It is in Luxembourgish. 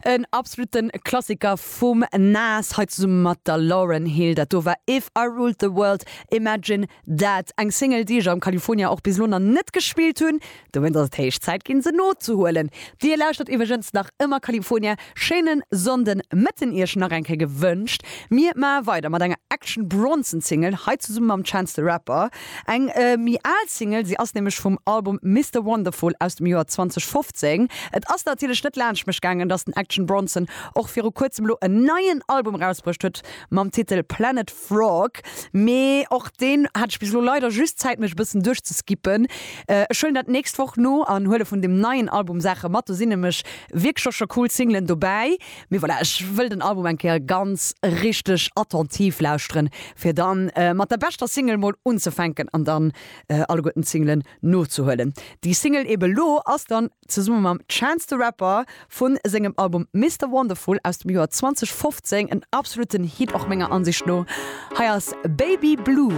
En absoluten Klassiker vum Nas, hei zesumme mat der Lauryn Hill. Dat do war If I Ruled the World, Imagine That. Eng Single, déi ech am California och bis elo nach net gespillt hunn. Dowéinst ass et héich Zäit ginn, se nozehuelen. Dir lauschtert iwwregens nach ëmmer California. Schéinen Sonnden Mëtten iech nach eng Kéier gewënscht. Mir maache weider mat enger Action Bronson Single, hei zesumme mam Chance the Rapper. Eng méi al Single, si ass nämlech vum Album Mister Wonderful aus dem Joer 2015. Et ass natierlech net laanscht mech gaangen, dass den Action Bronson och viru kuerzem elo en neien Album erausbruecht huet mam Titel Planet Frog. Mee och deen hat ech bis elo leider just Zäit mech e bëssen duerchzeskippen. Ech huelen dat nächst Woch no an huele vun deem neien Album Saache mat. Do sinn nämlech wierklech och scho cool Singlen dobäi. Mee voilà, ech wëll den Album eng Kéier ganz richteg attentiv lauschteren, fir dann mat der beschter Single mol unzefänken an dann alleguerten d'Singlen nozehuelen. Déi Single ebe lo ass dann zesumme mam Chance the Rapper vu sengem Album Mister Wonderful aus dem Joer 2015, en absoluten Hit och menger Ansicht no. Hei ass Baby Blue.